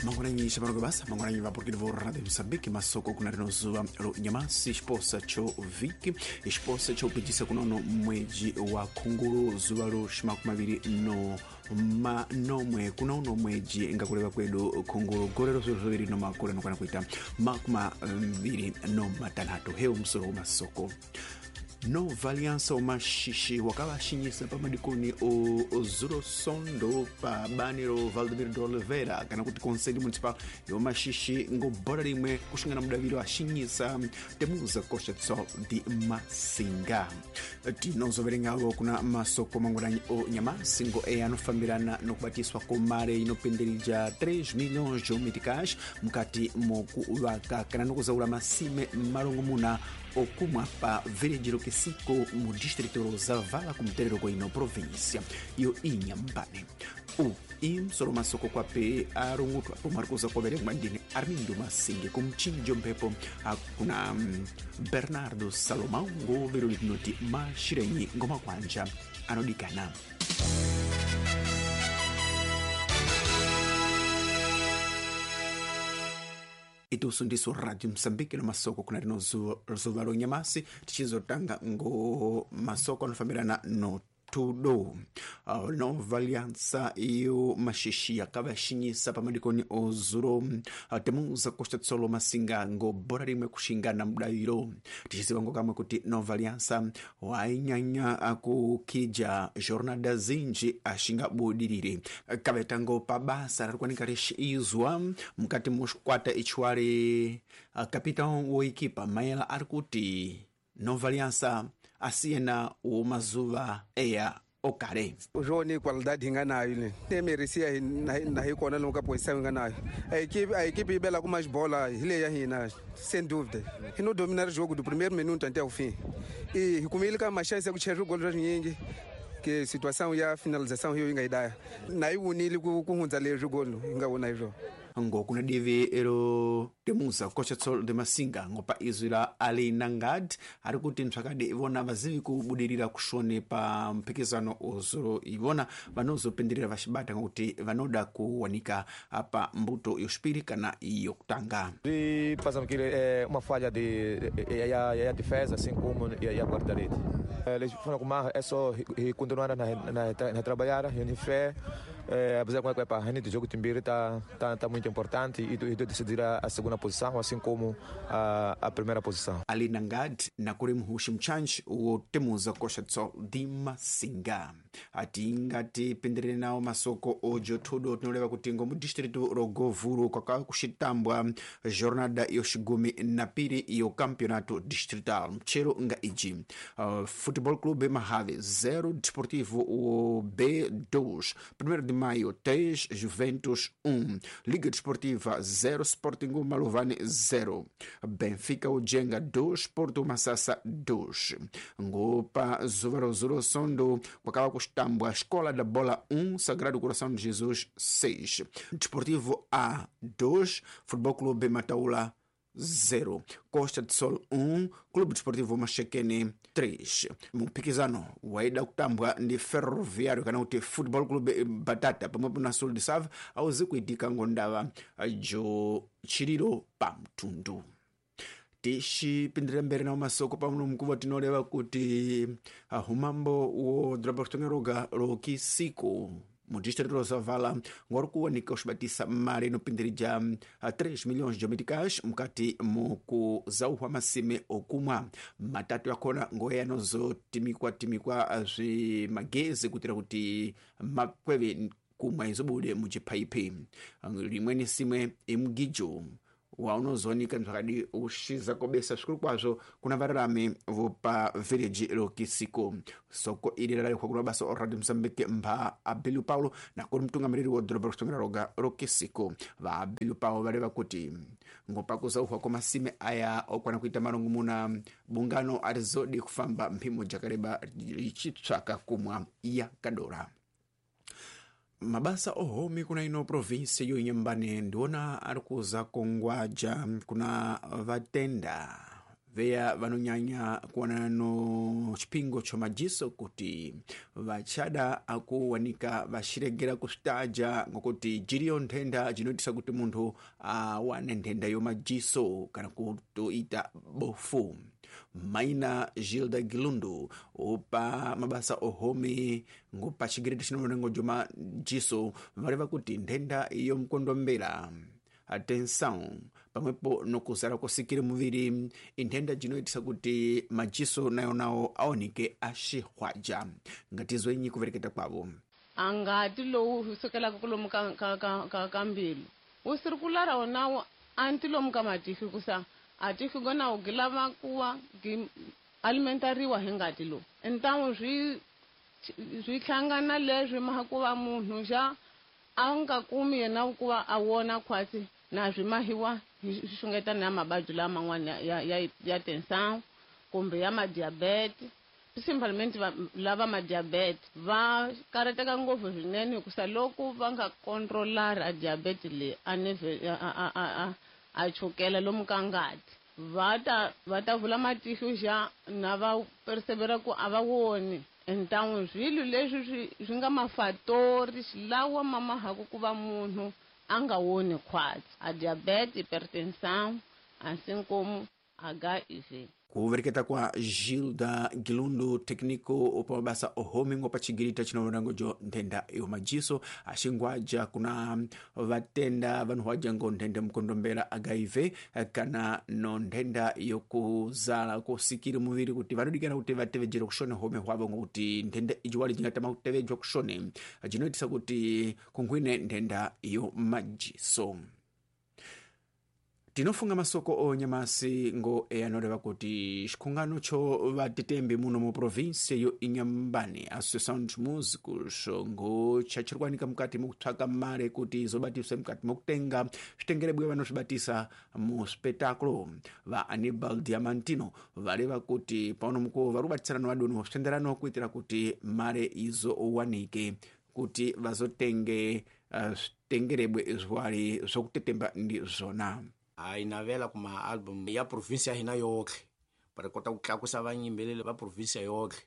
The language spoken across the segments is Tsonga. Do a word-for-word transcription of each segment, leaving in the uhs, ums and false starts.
Mangwananyi shabarogo basa mangwananyi vapurukiri vo Radio Mozambique masoko kuna rino zuva ro nyamasi xiposa cho vhiki xiposa cho kupijisa kunono mweji wa khunguru zuva ro ximakumi no manomwe kunono mweji ngakureva kwedu khunguru gore ro zviro zviviri no makore anokwana kuita makumi maviri no matanhatu. Heu musoro masoko. Nova Aliança Maxixe wakavashinyisa pamadikoni o Zuro Sondo pa banero Valdemiro de Oliveira kana kuti Conselho Municipal yo Maxixe ngo bora rimwe kuxingana mudaviro ashinyisa Temuza Costa de Sol de Massinga. Tinozoverengavo kuna masoko mangwananyi o nyamasi ngo e anofambirana nokubatiswa komare inopenderija três milhões de meticais mukati mokuvaka kana nokuzaula masime marongomuna okumwa pa village Lokisiko mu distrito Rosavala kumuterero kwa província yo Inhambane. O imsoro masoko kwape arungutwa pomarikoza kwaverengwa ndine Armindo Masinge kumchinjo mphepo kuna Bernardo Salomão ngovero litinoti mashirenyi ngomakwanja anodikana. Itusu ndiso Radio Mozambique no masoko kuna rino zuva ro nyamasi tichizotanga ngo masoko anofambirana no tudo. Uh, Nova Aliança iyo Maxixe yakavashinyisa pamadikoni ozuro uh, Temuza Costa de Sol Massinga ngo bora rimwe kuxingana mudaviro. Tichiziva ngo kamwe kuti Nova Aliança wainyanya akukija jornada zinji ashingabudirire kavetango pabasa rarikwanika rixizwa mukati muxikwata ichiwari uh, capitão wo equipa Maela ari kuti Nova Aliança asiyena o mazuva eya okare. O jogo ni qualidade hinga nayo ne. Tem merecia na na hikona lomu ka posição hinga nayo. A equipe a equipe ibela com mais bola ile ya hina sem dúvida. E no dominar o jogo do primeiro minuto até o fim. E kumilika mais chance ya kucheza gol nyingi. Que situação ya finalização hiyo inga idaya. Na iwunile kuhunza le jogo inga wona hiyo. Ngo kuna divi ero Temuza Costa de Sol de Massinga ngopa izwi la Ali Nangad ari kuti ntsvakadi ivona vazivi kubudirira kushone pa mpikizano ozoro ivona vanozopenderera vachibata ngokuti vanoda kuwanika apa mbuto yoxipiri kana yokutanga. E passamos que é uma falha de a a defesa assim como e a guarda-rede. Eles foram com é só continuar na na na trabalhar e fé, apesar que a gente do jogo Timbira tá tá tá muito importante e e decidir a, a segunda posição assim como a, a primeira posição. Ali Nangad na kuri muhushi mchanji wo Temuza Costa de Sol de Massinga. Atingati penderere nawo masoko ojo todo tinoreva kuti ngo mu distrito Rogovuro kwaka kuxitambwa jornada yoxigumi na piri yo campeonato distrital mchero nga iji uh, Futebol Clube Mahave zero, Desportivo o B dois, primeiro de Maio três, Juventus um, Liga Desportiva zero, Sporting Malovane zero, Benfica o Jenga dois, Porto Massassa dois. Ngopa Zuvarozuro Sondo kwakava kuxitambwa Escola da Bola um, Sagrado Coração de Jesus seis, Desportivo A dois, Futebol Clube Mataula zero, Costa de Sol um, Clube Desportivo Maxaquene três. Mpikizano waida kutambwa ndi Ferroviário kana kuti Futebol Clube Batata pamwepo na Sul de Save auzi kuitika ngondava jo chiriro pa mtundu. Tixipindira mberi nawo masoko pamuno mkuva tinoreva kuti humambo wo dhorobha kutonga Lokisiko mu distrito Rosavala ngori kuwanika uxibatisa mali inopindirija três milhões de meticais mukati mukuzauhwa masime okumwa. Matatu yakona ngoya anozotimikwa timikwa zvimagezi kuitira kuti makweve kumwa izobude muchiphaipi. Rimweni simwe imugijo waunozowanika zvakadi ushiza kobesa zvikuru kwazvo kuna vararami vopa village Lokisiko. Soko iri rarikwa kuna basa o Radio Mozambique mba Abílio Paulo nakuri mutungamiriri wo dhorobha rekutonga roga Lokisiko. Va Abílio Paulo vareva kuti ngopakuzauhwa kwamasime aya okwana kuita marongomuna bungano arizodi kufamba mphimo jakareba richitsvaka kumwa yakadora. Mabasa ohomi kuna ino provinsi yo Inhambane ndiona ari kuza kongwaja kuna vatenda Veya vanonyanya kuwanana no chipingo cho majiso kuti vachada akuwanika vaxiregera kusvitaja ngokuti jiriyo nthenda jinoitisa kuti munthu awane nthenda yo majiso kana kutoita bofu. Maina Gilda Gilundu opa mabasa ohome ngopa chigireti chinoonengo jo majiso vareva kuti nthenda iyo mkondombera atenção pamwepo nokuzara kusikira muviri inthenda jinoitisa kuti majiso nayo nawo aoneke axihwaja. Ngatizwenyi kuvereketa kwavo. Angati lowu sukelaka kulomu ka, ka, ka, ka, ka mbilu wu sirikulara wonawo anti lomu ka matihlo kusa atihlo gonawo gi lava kuwa gi alimentariwa hi ngati lowu ntawu swi swi hlangana leswi maha ku va munhu xa a nga kumi yena ku va a wona khwatsi na swi mahiwa hi xungeta na mavabyi laman'wana ya ya ya tension kumbe ya madiabete. Principalmente lava madiabete va karateka ngopfu swinene hikusa loko va nga controlara diabete leyi a a a a a chukela lomu ka ngati va ta va ta vula matihlo xa na va persevera ku a va woni. Ntan'we swilo leswi swi swi nga mafatori lawa ma mahaku ku va munhu a nga woni khwatsi a diabete, hypertension, asinkomu H I V. Kuvereketa kwa Gilda Gilundu técnico opa mabasa ohome ngopa chigirita chinoonango jo nthenda yo majiso axingwaja kuna vatenda vanhuwaja ngo nthenda mkondombera H I V kana no nthenda yokuzala kusikira muviri kuti vanodikana kuti vatevejere kushone home hwavo ngokuti nthenda ijiwali jingatama kutevejwa kushone jinoitisa kuti kunkhwine nthenda yo majiso. Tinofunga masoko onyamasi ngo eyanoreva kuti xikhungano cho vatetembi muno mu província yo Inhambane, Associação dos Músicos, ngo chachirikwanika mukati mukutsvaka mare kuti izobatiswe mukati mokutenga zvitengerebwe vanozvibatisa mu espetáculo. Va Aníbal Diamantino vareva kuti pauno mukuwo vari kubatisana vadoni zvitenderano kuitira kuti mare izowanike kuti vazotenge zvitengerebwe zwari zvokutetemba ndizvona. A hi navela kuma album ya province ya hina yotlhe para kota ku tlakusa vanyimbeleri va province yotlhe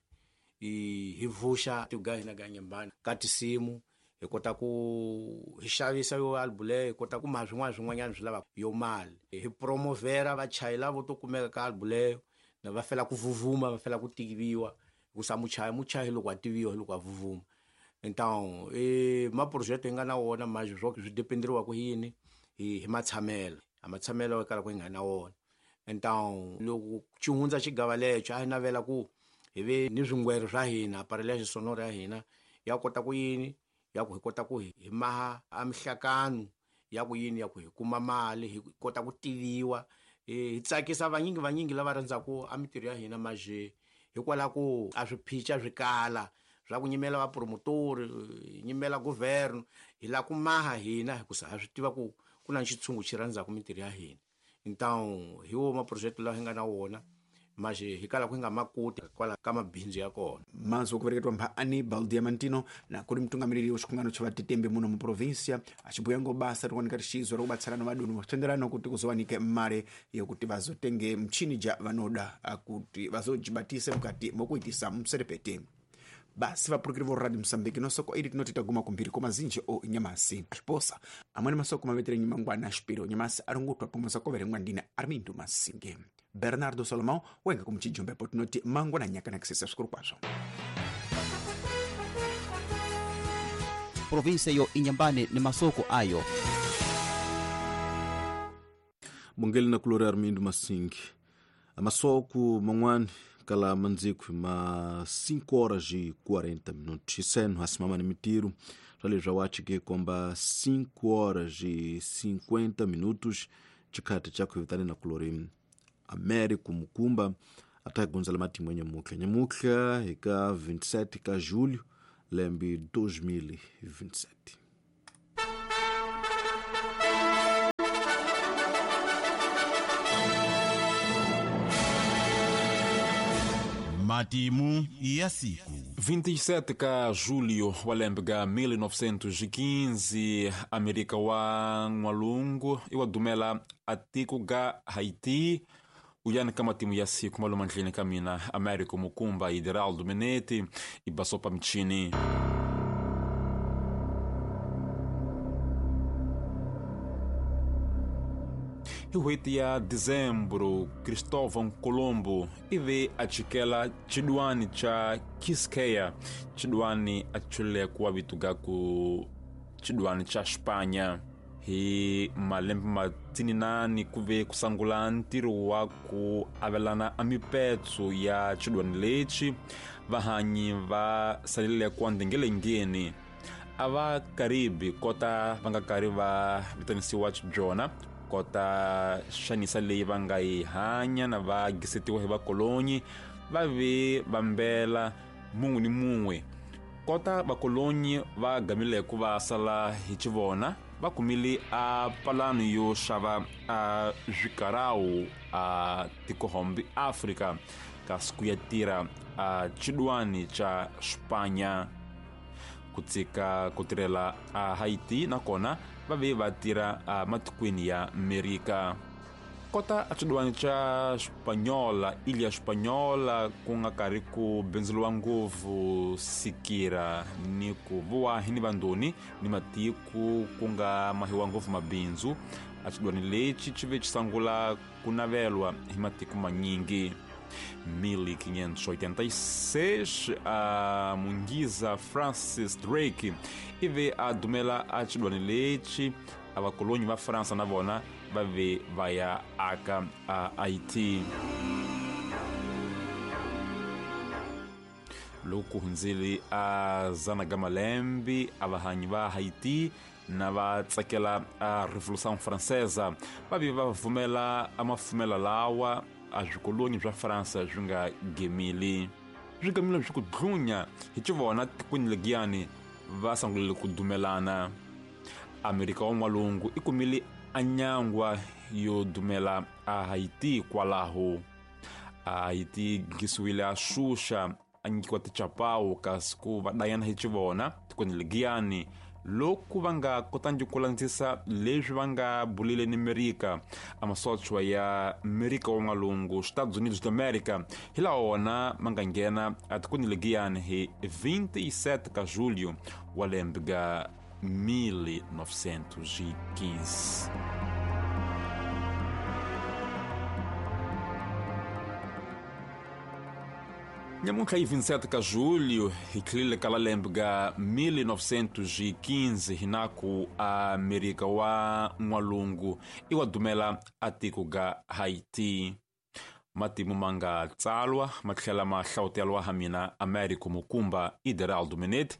hi vuxa tiko hina ga Inhambane ka tinsimu hi kota ku hi xavisa yo album leyo hi kota ku ma swin'wana swin'wanyana swi lavaka yo mali hi promovera vachayi lavo to kumeka ka album leyo na va fela ku vuvuma va fela ku tiviwa hikusa muchayi muchayi loko a tiviwa hi loko a vuvuma. Então e maprojeto hi nga na wona manje swo swi dependeriwa ku yini hi hi matshamelo a matshamelo kala ku nga na wona. Então loko xi hundza xigava lexo a hi navela ku hi ve ni swingwero swa hina aparelho sonoro ya hina ya kota ku yini ya ku hi kota ku hi maha a mihlakano ya ku yini ya ku hi kuma mali hi kota ku tiviwa hi tsakisa vanyingi vanyingi lava rhandzaku a mitirho ya hina maje hikwalaho ku a swiphica swi kala swa ku nyimela vapromotori nyimela governo hi la ku maha hina hikusa ha swi tiva ku ku na xitshungu xi rhandzaku mitirho ya hina. Então hi wo maprojeto lawa hi nga na wona maje hi kala ku hi nga makoti kwala ka mabindzu ya kona. Mazwi okuvereketwa mpha Aníbal Diamantino na kuri mutungamiriri wa xikhungano cha vatetembi muno mu província achibuya ngo basa rikuoneka rixizwa rikubatsirana vadoni vachitenderano kuti kuzowanike mare yokuti vazotenge mchini ja vanoda kuti vazojibatise mukati mokuitisa muserepete. Basi vapurukiri vo Radio Mozambique nosoko iri tinoti taguma kumbiri komazinji o nyamasi xiposa amweni masoko mavetere nyimangwana xipiro nyamasi arungutwa pomwe sakoverengwa ndina Armindo Masinge. Bernardo Salomão wenga kumuchijombepo tinoti mangwana nyaka kisesa svikuru kwazvo. Província yo Inhambane ni masoko ayo. Bongeli na kulori Armindo Masinge. Masoko mangwani kala mandziku ma cinco horas e quarenta minutos. Iseno hasimama ni mitiru rali rawachike kwamba cinco horas e cinquenta minutos chikati chako vitani na kulori Américo Mukumba atagonza matimu nyamuka nyamuka ika vinte e sete ka julho lembe dois mil e vinte e sete. Matimu ya siku vinte e sete ka julho walembega mil novecentos e quinze América wa N'walungu iwadumela atiko ga Haiti Uyani ka matimu ya siku maluma ndlini ka mina Américo Mukumba Ideraldo Menete e Basopa Mchini. Hi n'hweti ya Dezembro, Cristóvão Colombo ive a chikela cidwani cha Quisqueya, cidwani a chulekwa vituga ku cidwani cha Espanha. Hi malembe matininani ku ve ku sangula ntirho wa ku avelana a mipetso ya cidwani lexi vahanyi va salile kwa ndhengelengeni a va Karibi kota va nga karhi va vitanisiwa byona kota xanisa leyi va nga yi hanya na va gisetiwa hi vakolonyi va ve vambela mun'we ni mun'we kota vakolonyi va gamile ku va sala hi xivona va kumile a palano yo xava a zwikarau a tikohombi Afrika kasi ku ya tirha a cidwani cha Espanha ku tshika ku tirhela a Haiti nakona va ve va tirha a matikweni ya Amerika kota a cidwani cha Espanhola Ilha Espanhola ku nga karhi ku bindzuriwa ngopfu sikira ni ku vuwa hi ni vandoni ni matiko ku nga mahiwa ngopfu mabindzu a cidwani lexi xi ve xi sungula ku navelwa hi matiko manyingi. mil quinhentos e oitenta e seis a mungiza Francis Drake ive a dumela a cidwani lexi a vakolonyi va Fransa na vona va ve va ya aka a Haiti. Loko hundzile a zana ga malembe a vahanyi va Haiti na va tsakela a Revolução Francesa va ve va vumela a mafumela lawa a swikolonyi swa Fransa swi nga gemili swi gamile swi ku dlunya hi xivona tikweni legiyani va sungulile ku dumelana. Amerika wa N'walungu i kumile a nyangwa yo dumela a Haiti kwalaho a Haiti gisiwile a xuxa a nyikiwa tichapawu kasi ku va dayana hi xivona tikweni legiyani loko va nga kotangi ku landzisa leswi va nga bulile ni Amerika a masochwa ya Amerika wa N'walungu Estados Unidos da América hi laha wona ma nga nghena a tikweni legiyani hi vinte e sete ka julho wa lembe ga mil novecentos e quinze. Nyamuntlha hi vinte e sete ka julho hi tlhelile ka lembe ga mil novecentos e quinze hinaku a Amerika wa N'walungu i wa dumela a tiko ga Haiti. Matimu ma nga tsalwa ma tlhela ma hlawutelwa ha mina Américo Mukumba Ideraldo Menete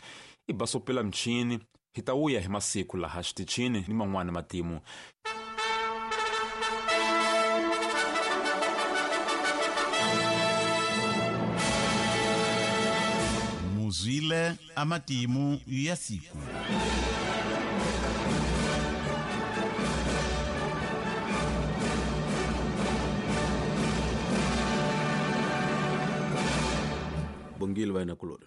i basopela mchini hi ta wuya hi masiku laha xitichini ni man'wana matimu. Muzwile amatimu ya siku. Bongile vaina kulori.